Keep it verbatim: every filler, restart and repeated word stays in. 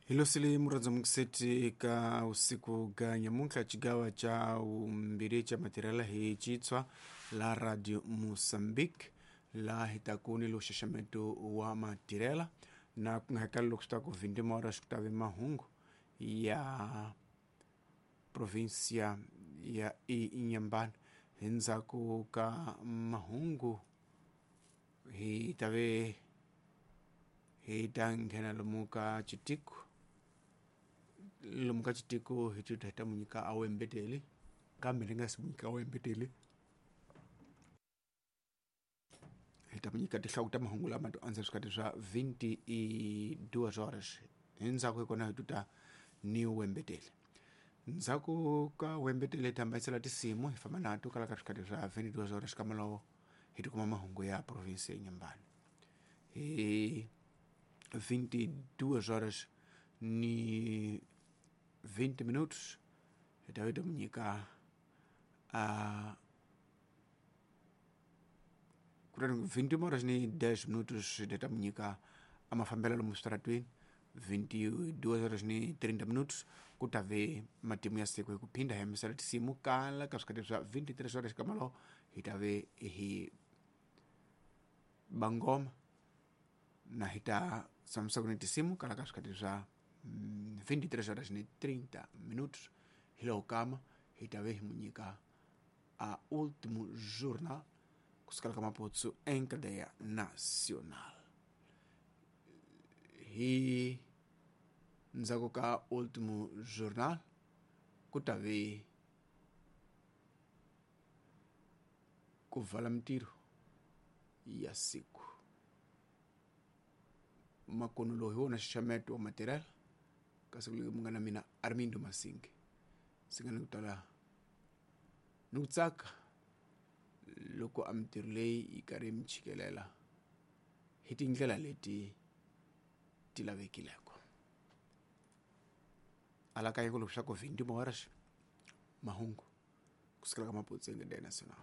Hilosile muradza mukiseti ka usiku ga nyamuntlha chigawa cha umbiri cha matirela hi chitswa la Radio Mozambique la hi ta ku ni lo xaxameto wa matirela na ku nga loko swi ta ku vinte horas ku ta ve mahungu ya província ya Inhambane. Endzhaku ka mahungu hi ta ve hi ta nghena lomu ka chitiko lomu ka chitiko hi ta hi ta mu nyika a wembeteli kambe ni nga si mu nyika wembeteli hi ta mu nyika tinhloko ta mahungu lama to andza swikati swa vinte e duas horas. Endzhaku hi kona hi tuta ni wembeteli. Ndzhaku ka wembeteli hi ta hambanyisela tinsimu hi famba na to kala ka swikati swa vinte e duas horas ka malowo hi tikuma mahungu ya província ya Inhambane. Hi vinte e duas horas ni vinte minutos hi ta hi ta mu nyika a kutani vinte horas ni dez minutos hi ta mu nyika a mafambelo lomu switaratweni. Vinte e duas horas ni trinta minutos ku ta ve matimu ya siku hi ku phinda hi hamisela tinsimu kala ka swikati swa vinte e três horas ka malowo hi ta ve hi bangoma na hi ta tshamisa ku ni tinsimu kala ka swikati swa vinte e três horas ni trinta minutos. Hi loko kama hi ta ve hi mu nyika a último jornal kusukela ka Maputo em cadeia nacional. Hi ndzhaku ka último jornal ku ta ve ku vala mintirho ya siku. Makono lowu hi wona xaxameto wa matirhelo kasi ku munghana mina Armindo Masingi ndzi nga ni ku tala ni ku tsaka loko a mintirho leyi yi karhi yi mi chikelela hi tindlela leti ti lavekileko. Alakanya ku leswaku vinte horas mahungu kusukela ka Maputo em cadeia nacional.